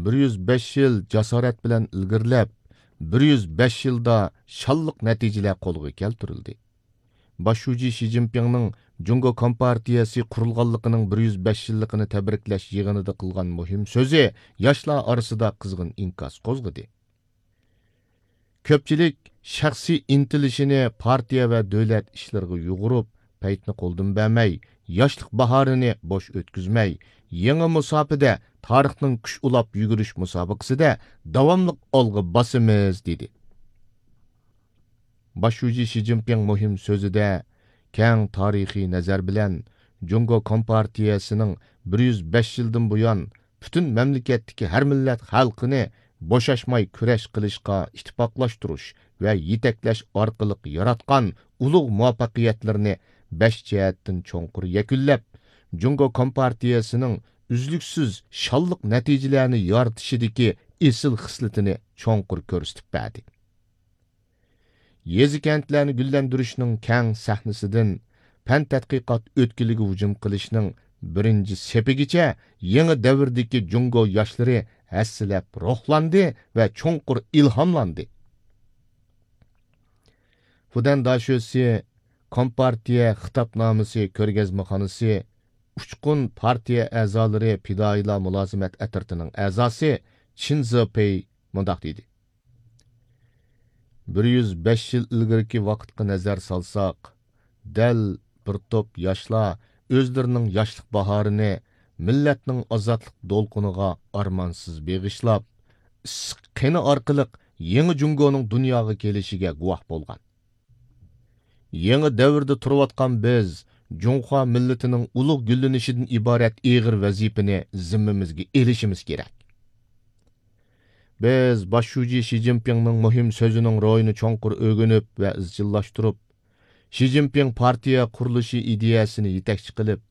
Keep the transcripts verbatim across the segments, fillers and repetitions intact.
بىر يۈز بەش يىل جاسارەت بىلەن ئىلگىرىلەپ، بىر يۈز بەش يىلدا شانلىق نەتىجىلەر قولغا كەلتۈرۈلدى. باش شۇجى شى جىنپىڭنىڭ جۇڭگو كومپارتىيەسى قۇرۇلغانلىقىنىڭ بىر يۈز بەش يىللىقىنى تەبرىكلەش يىغىنىدا قىلغان مۇھىم سۆزى ياشلار ئارىسىدا قىزغىن ئىنكاس قوزغىدى. كۆپچىلىك شەخسىي ئىنتىلىشىنى پارتىيە ۋە دۆلەت ئىشلىرىغا يۇغۇرۇپ، پەيتنى قولدىن بەرمەي، ياشلىق باھارىنى بوش ئۆتكۈزمەي، يېڭى مۇساپىدە تارىخنىڭ كۈچ ئۇلاپ يۈگۈرۈش مۇسابىقىسىدە داۋاملىق ئالغا باسىمىز، دېدى. باش شۇجى شى جىنپىڭ مۇھىم سۆزىدە كەڭ تارىخىي نەزەر بىلەن جۇڭگو كومپارتىيەسىنىڭ بىر يۈز بەش يىلدىن بۇيان پۈتۈن مەملىكەتتىكى ھەر مىللەت خەلقىنى بوشاشماي كۈرەش قىلىشقا ئىتتىپاقلاشتۇرۇش ۋە يېتەكلەش ئارقىلىق ياراتقان ئۇلۇغ مۇۋەپپەقىيەتلىرىنى بەش جەھەتتىن چوڭقۇر يەكۈنلەپ، جۇڭگو كومپارتىيەسىنىڭ ئۈزلۈكسىز شانلىق نەتىجىلەرنى يارىتىشىدىكى ئېسىل خىسلىتىنى چوڭقۇر كۆرسىتىپ بەردى. يېزا-كەنتلەرنى گۈللەندۈرۈشنىڭ كەڭ سەھنىسىدىن پەن تەتقىقات ئۆتكىلىگە ھۇجۇم قىلىشنىڭ بىرىنچى سېپىگىچە يېڭى دەۋردىكى جۇڭگو ياشلىرى ھەسسىلەپ روھلاندى ۋە چوڭقۇر ئىلھاملاندى. فۇدەن داشۆسى كومپارتىيە خىتابنامىسى كۆرگەزمىخانىسى ئۇچقۇن پارتىيە ئەزالىرى پىدائىيلار مۇلازىمەت ئەترىتىنىڭ ئەزاسى چىن زېپېي مۇنداق دېدى. بىر يۈز بەش يىل ئىلگىرىكى ۋاقىتقا نەزەر سالساق، دەل بىر توپ ياشلار ئۆزلىرىنىڭ ياشلىق باھارىنى مىللەتنىڭ ئازادلىق دولقۇنىغا ئارمانسىز بېغىشلاپ، ئىسسىق قېنى ئارقىلىق يېڭى جۇڭگونىڭ دۇنياغا كېلىشىگە گۇۋاھ بولغان. يېڭى دەۋردە تۇرۇۋاتقان بىز جۇڭخۇا مىللىتىنىڭ ئۇلۇغ گۈللىنىشىدىن ئىبارەت ئېغىر ۋەزىپىنى زىممىمىزگە ئېلىشىمىز كېرەك. بىز باش شۇجى شى جىنپىڭنىڭ مۇھىم سۆزىنىڭ روھىنى چوڭقۇر ئۆگىنىپ ۋە ئىزچىللاشتۇرۇپ، شى جىنپىڭ پارتىيە قۇرۇلۇشى ئىدىيەسىنى يېتەكچى قىلىپ،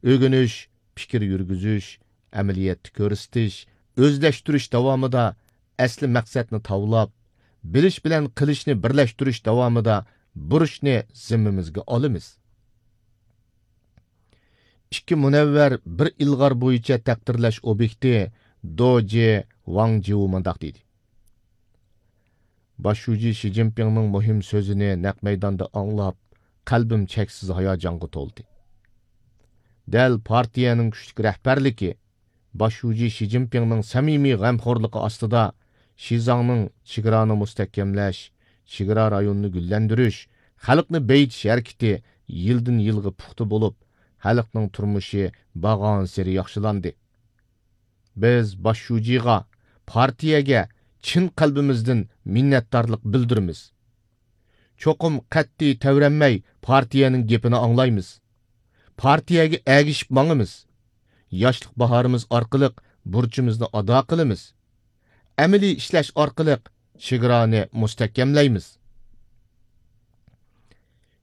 ئۆگىنىش، پىكىر يۈرگۈزۈش، ئەمەلىيەتتە كۆرسىتىش، ئۆزلەشتۈرۈش داۋامىدا ئەسلى مەقسەتنى تاۋلاپ، بىلىش بىلەن قىلىشنى بىرلەشتۈرۈش داۋامىدا بۇرچنى زىممىمىزگە ئالىمىز. ئىككى مۇنەۋۋەر بىر ئىلغار بويىچە تەقدىرلەش ئوبيېكتى دوجى ۋاڭ جىۋۇ مۇنداق دېدى. باش شۇجى شى جىنپىڭنىڭ مۇھىم سۆزىنى نەق مەيداندا ئاڭلاپ، قەلبىم چەكسىز ھاياجانغا تولدى. دەل پارتىيەنىڭ كۈچلۈك رەھبەرلىكى، باش شۇجى شى جىنپىڭنىڭ سەمىمىي غەمخورلۇقى ئاستىدا شىزاڭنىڭ چېگرانى مۇستەھكەملەش، چېگرا رايونىنى گۈللەندۈرۈش، خەلقنى بېيىتىش ھەرىكىتى يىلدىن يىلغا پۇختا بولۇپ، خەلقنىڭ تۇرمۇشى بارغانسېرى ياخشىلاندى. بىز باش شۇجىغا، پارتىيەگە چىن قەلبىمىزدىن مىننەتدارلىق بىلدۈرىمىز. چوقۇم قەتئىي تەۋرەنمەي پارتىيەنىڭ گېپىنى ئاڭلايمىز. پارتىيەگە ئەگىشىپ ماڭىمىز. ياشلىق باھارىمىز ئارقىلىق بۇرچىمىزنى ئادا قىلىمىز. ئەمەلىي ئىشلەش ئارقىلىق چېگرانى مۇستەھكەملەيمىز.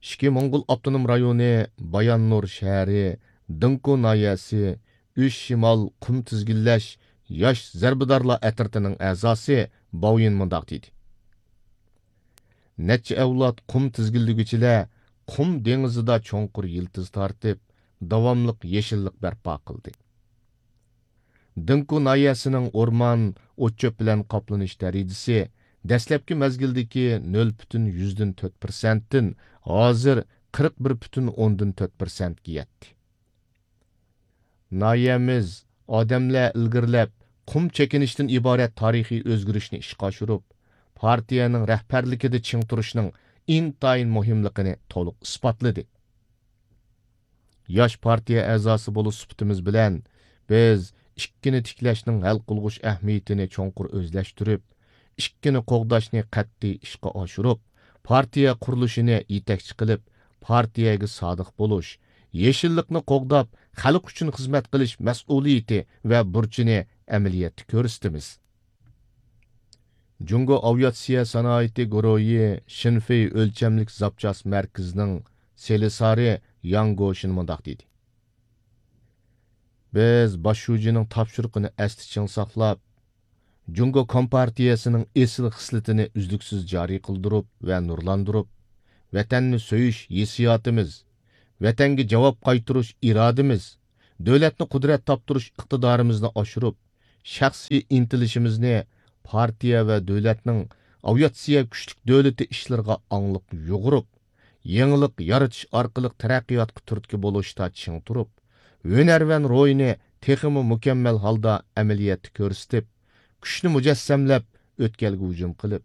ئىچكى موڭغۇل ئاپتونوم رايونى باياننۇر شەھىرى دىڭكۇ ناھىيەسى ئۈچ شىمال قۇم تىزگىنلەش ياش زەربىدارلار ئەترىتىنىڭ ئەزاسى باۋيىن مۇنداق دېدى. نەچچە ئەۋلاد قۇم تىزگىنلىگۈچىلەر قۇم دېڭىزىدا چوڭقۇر يىلتىز تارتىپ، داۋاملىق يېشىللىق بەرپا قىلدى. دىڭكۇ ناھىيەسىنىڭ ئورمان، ئوت-چۆپ بىلەن قاپلىنىش دەرىجىسى دەسلەپكى مەزگىلدىكى نۆل پۈتۈن يۈزدىن تۆت پىرسەنتتىن ھازىر قىرىق بىر پۈتۈن ئوندىن تۆت پىرسەنتكە يەتتى. ناھىيەمىز ئادەملەر ئىلگىرىلەپ قۇم چېكىنىشتىن ئىبارەت تارىخىي ئۆزگىرىشنى ئىشقا ئاشۇرۇپ، پارتىيەنىڭ رەھبەرلىكىدە چىڭ تۇرۇشنىڭ ئىنتايىن مۇھىملىقىنى تولۇق ئىسپاتلىدى. ياش پارتىيە ئەزاسى بولۇش سۈپىتىمىز بىلەن، بىز ئىككىنى تىكلەشنىڭ ھەل قىلغۇچ ئەھمىيىتىنى چوڭقۇر ئۆزلەشتۈرۈپ، ئىككىنى قوغداشنى قەتئىي ئىشقا ئاشۇرۇپ، پارتىيە قۇرۇلۇشىنى يېتەكچى قىلىپ، پارتىيەگە سادىق بولۇش، يېشىللىقنى قوغداپ، خەلق ئۈچۈن خىزمەت قىلىش مەسئۇلىيىتى ۋە بۇرچىنى ئەمەلىيەتتە كۆرسىتىمىز. جۇڭگو ئاۋىئاتسىيە سانائىتى گۇرۇھى شىنفېي ئۆلچەملىك زاپچاس مەركىزىنىڭ سېلىسارى ياڭ گوشىن مۇنداق دېدى. بىز باش شۇجىنىڭ تاپشۇرۇقىنى ئەستە چىڭ ساقلاپ، جۇڭگو كومپارتىيەسىنىڭ ئېسىل خىسلىتىنى ئۈزلۈكسىز جارى قىلدۇرۇپ ۋە نۇرلاندۇرۇپ، ۋەتەننى سۆيۈش ھېسسىياتىمىز، ۋەتەنگە جاۋاب قايتۇرۇش ئىرادىمىز، دۆلەتنى قۇدرەت تاپتۇرۇش ئىقتىدارىمىزنى ئاشۇرۇپ، شەخسىي ئىنتىلىشىمىزنى پارتىيە ۋە دۆلەتنىڭ ئاۋىئاتسىيە كۈچلۈك دۆلىتى ئىشلىرىغا ئاڭلىق يۇغۇرۇپ، يېڭىلىق يارىتىش ئارقىلىق تەرەققىياتقا تۈرتكە بولۇشتا چىڭ تۇرۇپ، ھۈنەرۋەن روھىنى تېخىمۇ مۇكەممەل ھالدا ئەمەلىيەتتە كۆرسىتىپ، كۈچنى مۇجەسسەملەپ، ئۆتكەلگە ھۇجۇم قىلىپ،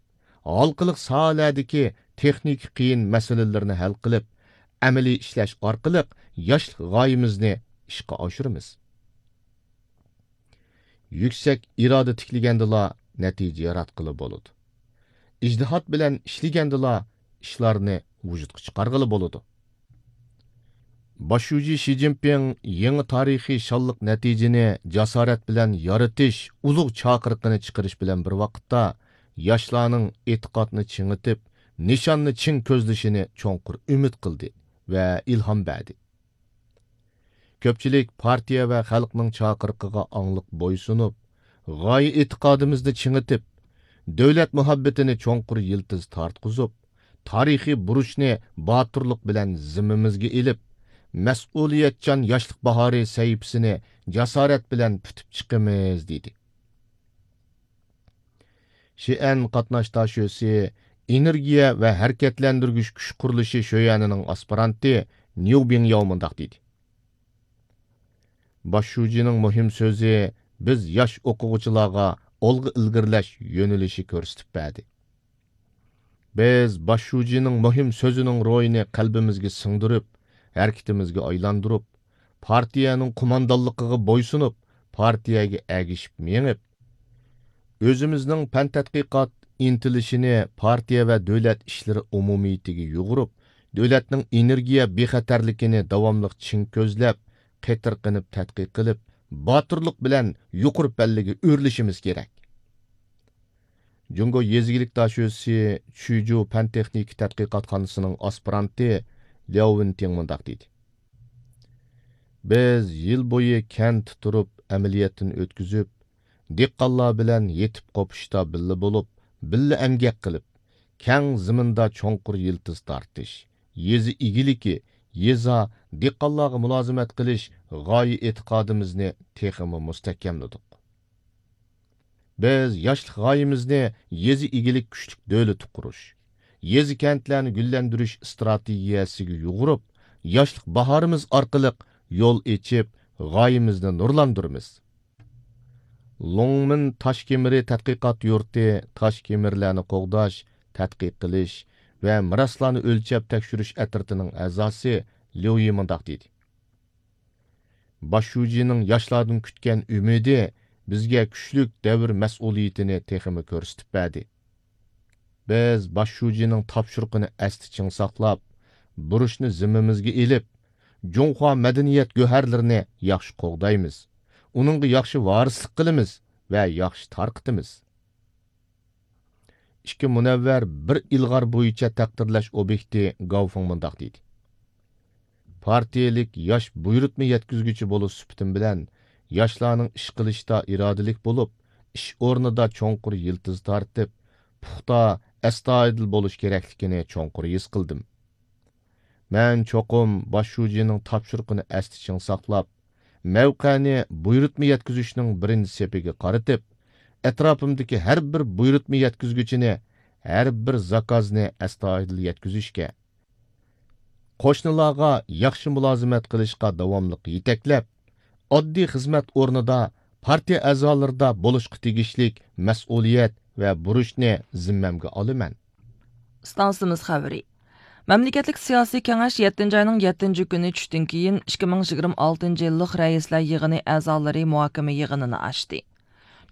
ھالقىلىق ساھەلەردىكى تېخنىكا قىيىن مەسىلىلىرىنى ھەل قىلىپ، ئەمەلىي ئىشلەش ئارقىلىق ياشلىق غايىمىزنى ئىشقا ئاشۇرىمىز. يۈكسەك ئىرادە تىكلىگەندىلا نەتىجە ياراتقىلى بولىدۇ. ئىجتىھات بىلەن ئىشلىگەندىلا ئىشلارنى ۋۇجۇدقا چىقارغىلى بولىدۇ. باش شۇجى شى جىنپىڭ يېڭى تارىخىي شانلىق نەتىجىنى جاسارەت بىلەن يارىتىش ئۇلۇغ چاقىرىقىنى چىقىرىش بىلەن بىر ۋاقىتتا، ياشلارنىڭ ئېتىقادنى چىڭىتىپ، نىشاننى چىڭ كۆزلىشىنى چوڭقۇر ئۈمىد قىلدى ۋە ئىلھام بەردى. كۆپچىلىك پارتىيە ۋە خەلقنىڭ چاقىرىقىغا ئاڭلىق بويسۇنۇپ، غايە ئېتىقادىمىزنى چىڭىتىپ، دۆلەت مۇھەببىتىنى چوڭقۇر يىلتىز تارتقۇزۇپ، تارىخىي بۇرچنى باتۇرلۇق بىلەن زىممىمىزگە ئېلىپ، مەسئۇلىيەتچان ياشلىق باھارى سەھىپىسىنى جاسارەت بىلەن پۈتۈپ چىقىمىز، دېدى. شىئەن قاتناش داشۆسى ئېنېرگىيە ۋە ھەرىكەتلەندۈرگۈچ كۈچ قۇرۇلۇشى شۆيەنىنىڭ ئاسپىرانتى نيۇ بىڭياۋ مۇنداق دېدى: باش شۇجىنىڭ مۇھىم سۆزى بىز ياش ئوقۇغۇچىلارغا ئالغا ئىلگىرىلەش يۆنىلىشى كۆرسىتىپ بەردى. بىز باش شۇجىنىڭ مۇھىم سۆزىنىڭ روھىنى قەلبىمىزگە سىڭدۈرۈپ، ھەرىكىتىمىزگە ئايلاندۇرۇپ، پارتىيەنىڭ قوماندانلىقىغا بويسۇنۇپ، پارتىيەگە ئەگىشىپ مېڭىپ، ئۆزىمىزنىڭ پەن تەتقىقات ئىنتىلىشىنى پارتىيە ۋە دۆلەت ئىشلىرى ئومۇمىيىتىگە يۇغۇرۇپ، دۆلەتنىڭ ئېنېرگىيە بىخەتەرلىكىنى داۋاملىق چىڭ كۆزلەپ، قېتىرقىنىپ تەتقىق قىلىپ، باتۇرلۇق بىلەن يۇقىرى پەللىگە ئۆرلىشىمىز كېرەك. جۇڭگو يېزا ئىگىلىك داشۆسى چۈجۇ پەن تېخنىكا تەتقىقاتخانىسىنىڭ ئاسپىرانتى لياۋ ۋېنتىڭ مۇنداق دېدى: بىز يىل بويى كەنتتە تۇرۇپ ئەمەلىيەتتىن ئۆتكۈزۈپ، دېھقانلار بىلەن يېتىپ قوپۇشتا بىللە بولۇپ، بىللە ئەمگەك قىلىپ، كەڭ زېمىندا چوڭقۇر يىلتىز تارتىش، يېزا ئىگىلىكى، يېزا، دېھقانلارغا مۇلازىمەت قىلىش غايە ئېتىقادىمىزنى تېخىمۇ مۇستەھكەملىدۇق. بىز ياشلىق غايىمىزنى يېزا ئىگىلىك كۈچلۈك دۆلىتى قۇرۇش، يېزا كەنتلەرنى گۈللەندۈرۈش ئىستراتېگىيەسىگە يۇغۇرۇپ، ياشلىق باھارىمىز ئارقىلىق يول ئېچىپ، غايىمىزنى نۇرلاندۇرىمىز. لوڭمىن تاش كېمىرى تەتقىقات يۇرتى تاش كېمىرلەرنى قوغداش، تەتقىق قىلىش ۋە مىراسلارنى ئۆلچەپ تەكشۈرۈش ئەترىتىنىڭ ئەزاسى ليۇ يى مۇنداق دېدى: باش شۇجىنىڭ ياشلاردىن كۈتكەن ئۈمىدى بىزگە كۈچلۈك دەۋر مەسئۇلىيىتىنى تېخىمۇ كۆرسىتىپ بەردى. بىز باش شۇجىنىڭ تاپشۇرۇقىنى ئەستە چىڭ ساقلاپ، بۇرچنى زىممىمىزگە ئېلىپ، جۇڭخۇا مەدەنىيەت گۆھەرلىرىنى ياخشى قوغدايمىز، ئۇنىڭغا ياخشى ۋارىسلىق قىلىمىز ۋە ياخشى تارقىتىمىز. ئىككى مۇنەۋۋەر، بىر ئىلغار بويىچە تەقدىرلەش ئوبيېكتى گاۋفېڭ مۇنداق دېدى: پارتىيەلىك ياش بۇيرۇتما يەتكۈزگۈچى بولۇش سۈپىتىم بىلەن، ياشلارنىڭ ئىش قىلىشتا ئىرادىلىك بولۇپ، ئىش ئورنىدا چوڭقۇر يىلتىز تارتىپ، پۇختا، ئەستايىدىل بولۇش كېرەكلىكىنى چوڭقۇر ھېس قىلدىم. مەن چوقۇم باش شۇجىنىڭ تاپشۇرۇقىنى ئەستە چىڭ ساقلاپ، مەۋقەنى بۇيرۇتما يەتكۈزۈشنىڭ بىرىنچى سېپىگە قارىتىپ، ئەتراپىمدىكى ھەر بىر بۇيرۇتما يەتكۈزگۈچىنى، ھەر بىر زاكازنى ئەستايىدىل يەتكۈزۈشكە، قوشنىلارغا ياخشى مۇلازىمەت قىلىشقا داۋاملىق يېتەكلەپ، ئاددىي خىزمەت ئورنىدا، پارتىيە ئەزالىرىدا بولۇشقا تېگىشلىك مەسئۇلىيەت ۋە بۇرچنى زىممەمگە ئالىمەن. ئىستانسىمىز خەۋىرى. مەملىكەتلىك سىياسىي كېڭەش يەتتىنچى ئاينىڭ يەتتىنچى كۈنى چۈشتىن كېيىن ئىككى مىڭ يىگىرمە ئالتىنچى يىللىق رەئىسلەر يىغىنى ئەزالىرى مۇھاكىمە يىغىنىنى ئاچتى.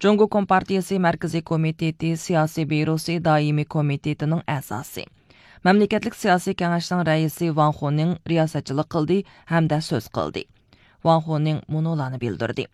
جۇڭگو كومپارتىيىسى مەركىزىي كومىتېتى سىياسىي بيۇروسى دائىمىي كومىتېتىنىڭ ئەزاسى، مەملىكەتلىك سىياسىي كېڭەشنىڭ رەئىسى ۋاڭ خۇنىڭ رىياسەتچىلىك قىلدى ھەمدە سۆز قىلدى. ۋاڭ خۇنىڭ مۇنۇلارنى بىلدۈردى.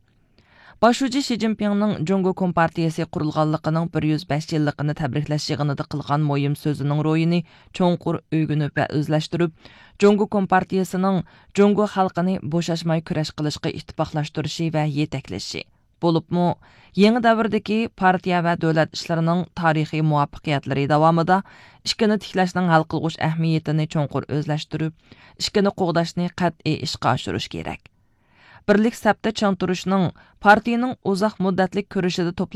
باش شۇجى شى جىنپىڭنىڭ جۇڭگو كومپارتىيىسى قۇرۇلغانلىقىنىڭ بىر يۈز بەش يىللىقىنى تەبرىكلەش يىغىنىدا قىلغان مۇھىم سۆزىنىڭ روھىنى چوڭقۇر ئۆگىنىپ ۋە ئۆزلەشتۈرۈپ، جۇڭگو كومپارتىيىسىنىڭ جۇڭگو خەلقىنى بوشاشماي كۈرەش قىلىشقا ئىتتىپاقلاشتۇرۇشى ۋە يېتەكلىشى، بولۇپمۇ يېڭى دەۋردىكى پارتىيە ۋە دۆلەت ئىشلىرىنىڭ تارىخىي مۇۋەپپەقىيەتلىرى داۋامىدا ئىككىنى تىكلەشنىڭ ھەل قىلغۇچ ئەھمىيىتىنى چوڭقۇر ئۆزلەشتۈرۈپ، ئىككىنى قوغداشنى قەتئىي ئىشقا ئاشۇرۇش كېرەك. بىرلىك سەپتە چىڭ تۇرۇشنىڭ پارتىيىنىڭ ئۇزاق مۇددەتلىك كۈرىشىدە توپلانغان